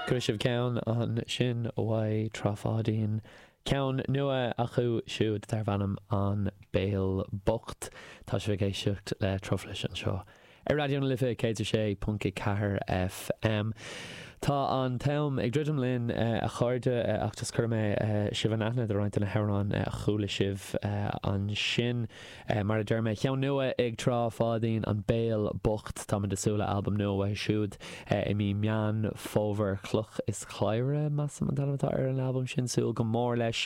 Chuala sibh ceann ansin uaidh Trá Pháidín, ceann nua acu siúd darb ainm An Béal Bocht. Tá sibh ag éisteacht le Truflais anseo ar Raidió na Life 106.4 FM. Tá an t-am ag druidim linn, a chairde, ach just cuirfidh mé sibh in aithne do roinnt de na hamhráin a chuala sibh ansin. Mar a deir mé, ceann nua ag Trá Pháidín, An Béal Bocht. Táimid ag súil le albam nua uathu siúd i mí Meán Fómhair. Cloch is Cladhaire, measaim, an t-ainm atá ar an albam sin. Súil go mór leis.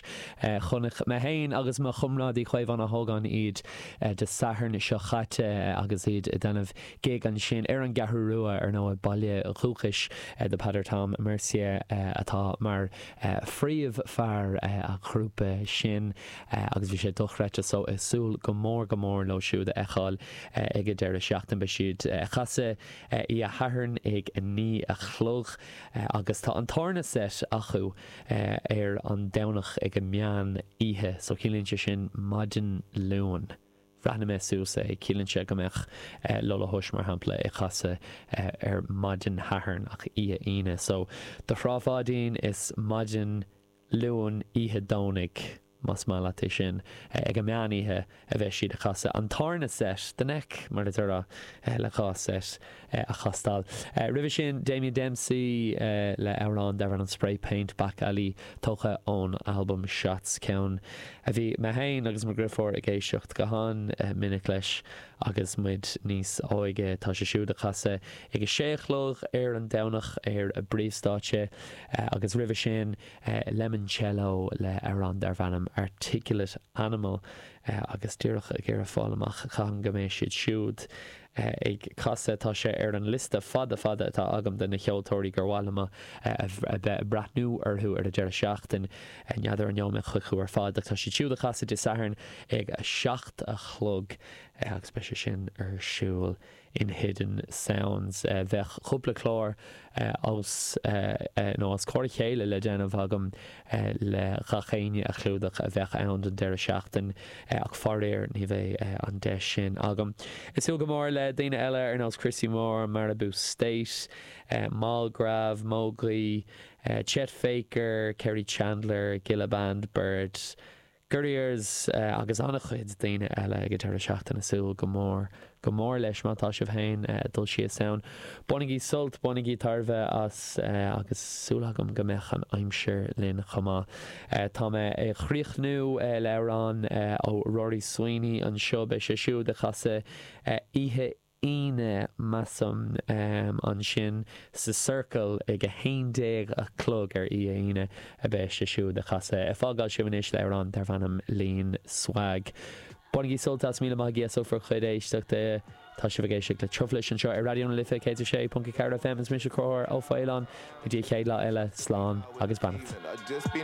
Chonaic mé féin agus mo chomrádaí Caomhán Ó hÓgáin iad Dé Sathairn seo chaite agus iad ag déanamh gig ansin ar an gCeathrú Rua, ar ndóigh, baile dhúchais do Peadar Tom Mercier atá mar phríomhfhear an ghrúpa sin agus bhí sé dochreidte so ag súil go mór go mór leo siúd a fheiceáil ag an deireadh seachtaine. Beidh siad ag casadh oíche Shathairn ag 9 a chlog agus tá an tarna set acu ar an Domhnach ag an meán oíche so ciallaíonn sé sin maidin Luain. Bhreathnaigh mé suas é, ciallaíonn sé go mbeadh Lola Hush mar shampla ag casadh ar maidin Shathairn ach oíche Aoine. So do Thrá Pháidín is maidin Luain oíche Domhnaigh más maith leat é sin. Ag an meán oíche a bheidh siad ag casadh an tarna set, the neck mar a déarfá, le dhá set a chastáil. Roimhe sin Damien Dempsey le amhrán darb ainm Spray Paint Back Alley tógtha ón albam Shots, ceann a bhí mé féin agus mo dheirfiúr ag éisteacht go han-mhinic leis agus muid níos óige. Tá sé siúd ag casadh ag a sé a chlog ar an Domhnach ar an bpríomhstáitse agus roimhe sin Lemoncello le amhrán darb ainm Articulate Animal agus díreach ag iarraidh fáil amach cathain go mbeidh siad siúd ag casadh. Tá sé ar an liosta fada fada atá agam de na ceoltóirí gur mhaith liom a bheith ag breathnú orthu ar an deireadh seachtain. N'fheadar an ngeobhaidh mé chucu ar fad ach tá siad siúd ag casadh Dé Sathairn ag a 7 a chlog agus beidh sé sin ar siúl in Hidden Sounds. Bheadh cúpla clár os nó os comhair a chéile le déanamh agam le gach éinne a chlúdach a bheadh ann don deireadh seachtain ach faraor ní bheidh an deis sin agam. Ag súil go mór le daoine eile ar nós Christy Moore, Maribou State, Mallgrav, Mógaí, Chet Faker, Kerri Chandler, Gilla Band, Bird, Gurriers agus an-chuid daoine eile ag an deireadh seachtaine. Súil go mór go mór leis má tá sibh féin ag dul síos ann. Bainigí sult, bainigí tairbhe as agus súil agam go mbeadh an aimsir linn chomh maith. Tá mé ag críochnú le amhrán ó Rory Sweeney anseo. Beidh sé siúd ag casadh oíche Aoine, measaim, ansin sa Circle ag 11 a chlog ar oíche Aoine a bheidh sé siúd ag casadh. Ag fágáil sibh anois le amhrán darb ainm Lean Swag. Bainigí sult as, míle maith agaibh as bhur chuid éisteachta. Tá sibh ag éisteacht le Truflais anseo ar Raidió na Life 106.4 FM. Is mise Conchúr Ó Faoláin. Go dtí an chéad lá eile, slán agus beannacht.